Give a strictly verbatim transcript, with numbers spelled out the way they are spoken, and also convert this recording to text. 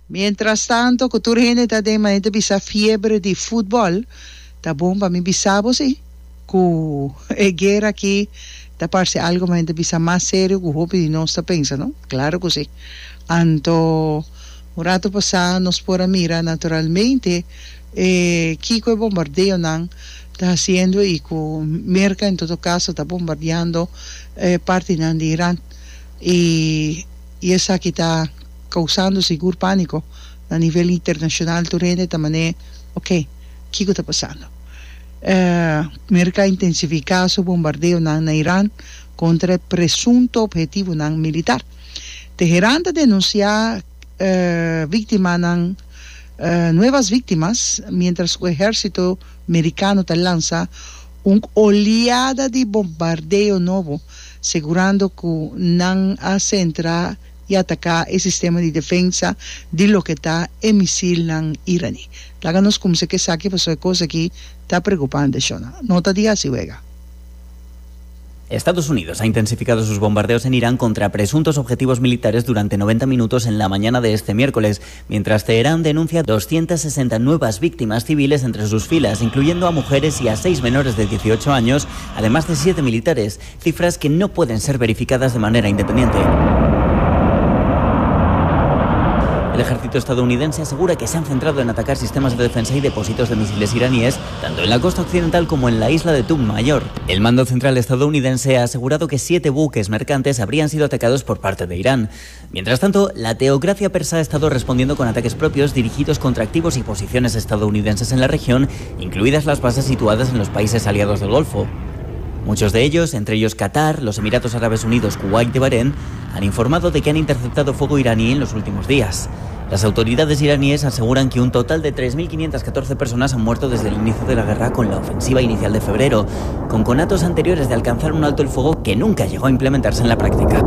Mientras tanto, ku tur hende ta den manera bisa fiebre di futbòl, ta bon pa mi bisa bo si, ku e guera aki ta parse algo manera bisa mas serio ku hopi di nos ta pensa, no? Klaro ku si. Anto, un ratu pasá nos por a mira naturalmente eh, kiko e bombardeonan ta hasiendo i ku Merka en todo kaso ta bombardeando eh, partinan di Iran. I, i esaki ta kousando sigur pániko na nivel internashonal. Tur hende ta manera, ok, kiko ta pasando? Eh, Merka a intensifiká su bombardeonan na Iran kontra presunto ophetivonan militar. Teherán ta denunsiá eh, víktimanan eh, nuevas víctimas, mientras e ehérsito merikano ta lansa un oleada di bombardeo nobo, asegurando ku nan a sentra i ataká e sistema di defensa di loke ta e misilnan iraní. Laga nos kuminsá ku esaki, pasobra e kos aki ta preokupante, shona. No ta di hasi wega. Estados Unidos ha intensificado sus bombardeos en Irán contra presuntos objetivos militares durante noventa minutos en la mañana de este miércoles, mientras Teherán denuncia doscientas sesenta nuevas víctimas civiles entre sus filas, incluyendo a mujeres y a seis menores de dieciocho años, además de siete militares, cifras que no pueden ser verificadas de manera independiente. El ejército estadounidense asegura que se han centrado en atacar sistemas de defensa y depósitos de misiles iraníes, tanto en la costa occidental como en la isla de Tunb Mayor. El mando central estadounidense ha asegurado que siete buques mercantes habrían sido atacados por parte de Irán. Mientras tanto, la teocracia persa ha estado respondiendo con ataques propios dirigidos contra activos y posiciones estadounidenses en la región, incluidas las bases situadas en los países aliados del Golfo. Muchos de ellos, entre ellos Qatar, los Emiratos Árabes Unidos, Kuwait y Bahrein, han informado de que han interceptado fuego iraní en los últimos días. Las autoridades iraníes aseguran que un total de tres mil quinientas catorce personas han muerto desde el inicio de la guerra con la ofensiva inicial de febrero, con conatos anteriores de alcanzar un alto el fuego que nunca llegó a implementarse en la práctica.